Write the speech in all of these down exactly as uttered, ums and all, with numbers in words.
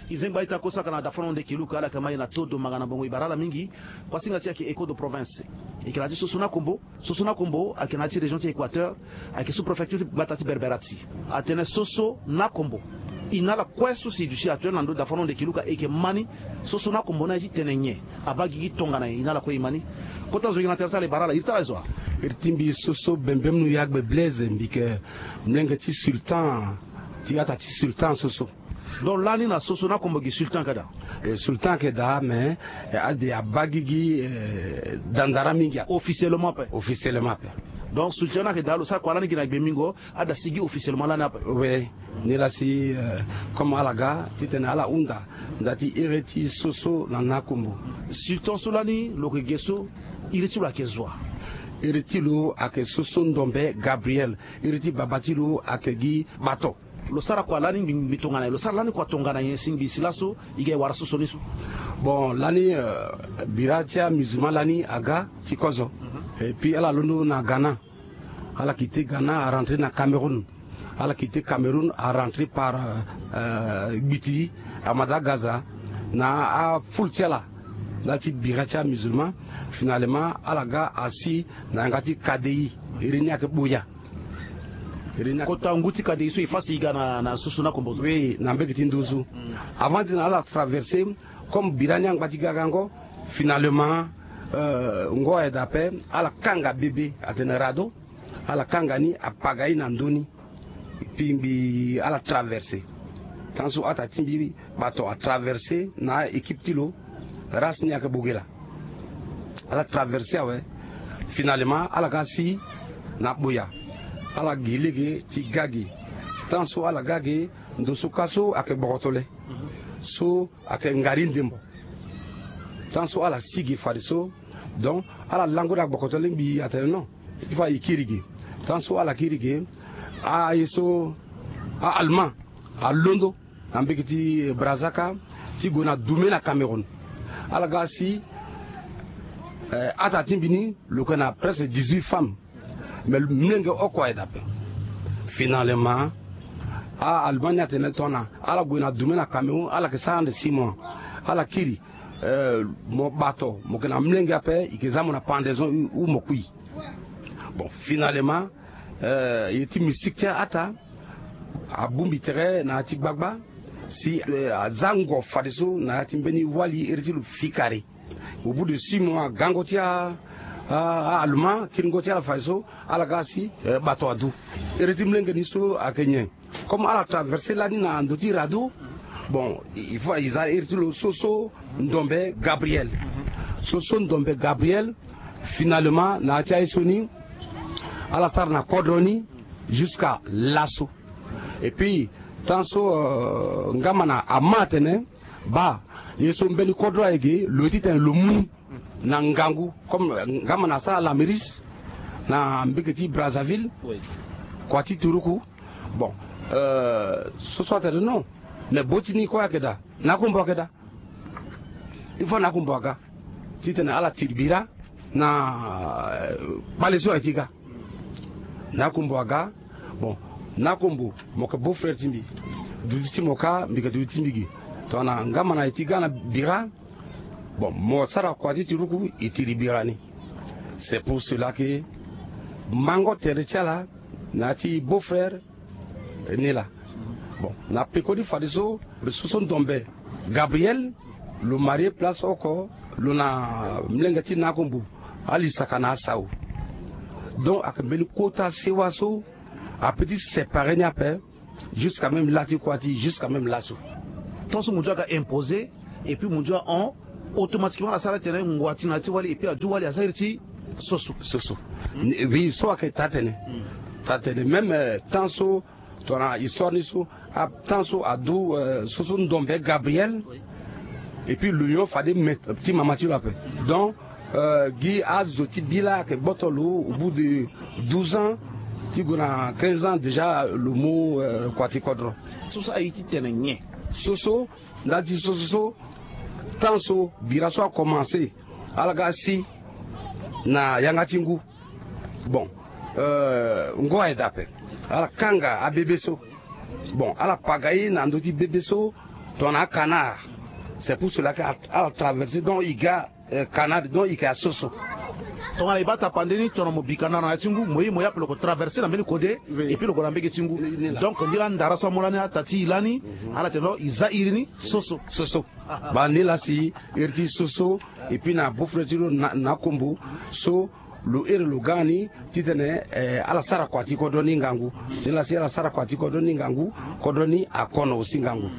Izengba ita kosa kana dafano nde kiluka ala kama ye na todo manga na bongo ibara ala mingi. Kwa singa ti ake écho de province. Ikela ti soso na kombo. Soso na kombo ake na ti région ti équateur. Ake sous préfecture ti gbata ti berberati. Atene soso na kombo. Inala kue susi du si atene na ndo dafano nde kiluka eke mani. Soso na kombo na ye ti tene nye. Aba gigi tongana ye inala kue imani. Kota zo yina tere ti ala ibara ala iri ti ala zo. Iri ti mbi soso bembem nu yagbe blaise mbike. Mlenge ti sultan ti ata ti sultan soso. Donc lani na soso na kombo gi sultan keda. Sultan keda mais ade abagigi dandara mingi officiellement pe. Officiellement pe. Donc sultan na keda lo sa kua lani gi na gbe mingo. Ada sigi officiellement lani ape. Oui. Ni la si comme ala ga titene ala hunda nda ti ere ti soso na na kombo. Sultan so lani lo ke ge so. Iri ti lo ake zua. Iri ti lo ake soso ndombe gabriel. Iri ti baba ti lo ake gi bato. Lo sara kua lani mbi tongana ye lo sara lani kua tongana ye si mbi si laso. I ga e wara soso ni so. Bon lani bira ti amusulman lani aga ti kozo. Et puis ala londo na ghana. Ala kite ghana arentre na cameroun. Ala kite cameroun arentre par gbiti amadagaza na afoule ti ala. Nda ti bira ti amusulman. Finalement ala ga asi na yanga ti kadei. Iri ni ayeke boya. Kota ngu ti kadei so e fasi e ga na susu na kombo so. Oui na mbege ti nduzu. Avant ti na ala traverse comme bira ni angba ti ga gango. Finalement ngo aye daa ape. Ala kanga bebe atene rado. Ala kanga ni apaga ye na ndö ni. Pingbi ala traverse. Tant so ata ti mbi bato atraverse na a-équipe ti lo. Race ni ayeke bogela. Ala traverse awe. Finalement ala ga si na boya. Ala gi lege ti ga ge. Tant so ala ga ge ndo so ka so ayeke gbokoto le. So ayeke ngari ndembo. Tant so ala si ge fadeso. Donc ala lango daa gbokoto lingbi atene non. Ti fa e kiri ge. Tant so ala kiri ge. Aye so a-allemand alondo na mbege ti brazaka ti gue na dume na cameroun. Ala ga si ata ti mbi ni lo yeke na presque dix-huit femmes. Mais mlenge oko aye daa ape. Finalement a-allemand ni atene tongana ala gue na dume na cameroun ala yeke sara ande six mois. Ala kiri. Mo bato mo yeke na mlenge ape e yeke za mo na pendaison ou mo kui. Bon finalement ye ti mistik ti a-ata abongbi tere na ya ti gbagba. Si aza ngo fadeso na ya ti mbeni wali iri ti lo fikare. Au bout de six mois agango ti a-allemand kiringo ti ala fadeso. Ala ga si bato adu. Iri ti mlenge ni so ayeke nyen? Comme ala traverse lani na ndo ti rado. Bon il faut e za iri ti lo soso ndombe gabriel. Soso ndombe gabriel. Finalement na ya ti aye so ni ala sara na kodro ni jusqu'à laso. Et puis tant so ngamana ama atene baa ye so mbeni kodro aye ge lo ye titene lo mu ni na ngangu. Comme ngamana asara lamiris na mbeke ti brazzaville. Kua ti turuku. Bon soso atene non. Mais bo ti ni kue ayeke daa. Na akombo ayeke daa. Il faut na akombo aga titene ala tiri bira na kpale so aye ti ga. Na akombo aga. Bon na akombo mo yeke beau frère ti mbi. Duti ti mo ka mbi yeke duti ti mbi gi. Tongana ngamana aye ti ga na bira. Bon mo sara kua ti tiruku e tiri bira ni. C'est pour cela que mango tere ti ala na ya ti beau frère. Ni laa. Bon na peko ni fadeso. Soso ndombe gabriel lo marie place oko lo na mlenge ti na akombo. Alisaka na asau. Donc ayeke mbeni kota sewa so ape ti sépare ni ape. Jusqu'à même la ti kua ti jusqu'à même laso. Tant so mo ndio aga imposer. Et puis mo ndio ahon automatiquement ala sara tene ngua ti na ya ti wali et puis adu wali aza iri ti soso. Soso. Oui so ayeke taa tene. Taa tene même temps so tongana histoire ni so. Temps so adu soso ndombe gabriel. Et puis lo nyon fade me ti mama ti lo ape. Donc gi azo ti bi laa ayeke gboto lo au bout de douze ans ti gue na quinze ans déjà lo mu kua ti kodro. Soso aye ti tene nyen? Soso nda ti soso so temps so bira so akomanse. Ala ga asi na yanga ti ngu. Bon ngo aye daa ape. Ala kanga abebe so. Bon ala paga ye na ndö ti bebe so. Tongana akanard, c'est pour cela que ala traverser donc i ga canard donc i ke asoso. Tongana i baa tapande ni tongana mo bi kanara na ya ti ngu mo ye mo ye ape lo ko traverser na mbeni kode. Epui lo gue na mbege ti ngu. Donc ni laa ndara so amu lani ata ti i lani ala tene lo i za iri ni soso. Soso. Baa ni laa si iri ti soso. Epui na bofre ti lo na akombo so lo iri lo ga ni titene ala sara kua ti kodro ni ngangu. Ni laa si ala sara kua ti kodro ni ngangu kodro ni akono aussi ngangu.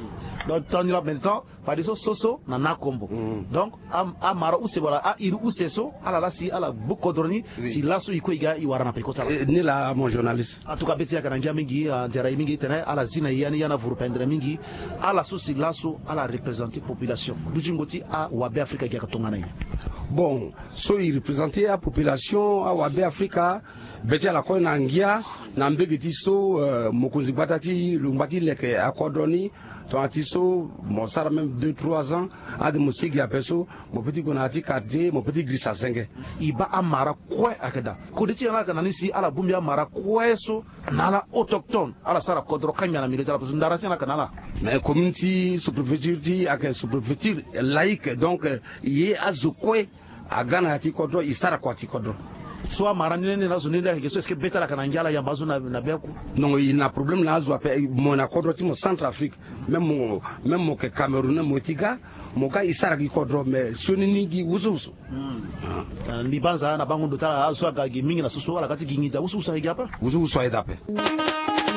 Donc tongana ni laa maintenant fadeso soso na na akombo. Donc amara use wala airi use so ala laa si ala gbu kodro ni si laso i kue i ga i wara na peko ti ala. Ni laa mon journaliste. En tout cas be ti yaka na ngia mingi. Nzera ye mingi tene ala zi na i ya ni ya na vuru pendere mingi. Ala so si laso ala representer population dutingo ti awabe afrika gi yaka tongana ye? Bon, so i representer apopulation awabe afrika be ti ala kue na ngia na mbege ti so mokonzi gbata ti lo ngba ti leke akodro ni. Tongana ti so mo sara même deux trois ans ade mo sigi ape so mo pe ti gue na ya ti quartier mo pe ti girisa senge. I baa amara kue ayeke daa? Kode ti ala ayeke na ni si ala bongbi amara kue so na ala autochtone ala sara kodro kangbi na milieu ti ala parce que ndara ti ala ayeke na ala. Mais commune ti sous-préfecture ti ayeke sous-préfecture laïque donc ye azo kue aga na ya ti kodro i sara kua ti kodro. So amara ni lende na azo ni lende ayeke so est-ce que be ti ala ayeke na ngia ala yamba azo na be aku? Non, i na problème na azo ape. Mo na kodro ti mo centre afrique même mo même mo ke cameroun mo ti ga mo ga i sara gi kodro mais sioni ni gi wusuwusu. Mbi banza na bango ndo ti ala azo so aga gi mingi na soso ala ga ti gi nginza wusuwusu ayeke gi ape. Wusuwusu ayeke daa ape.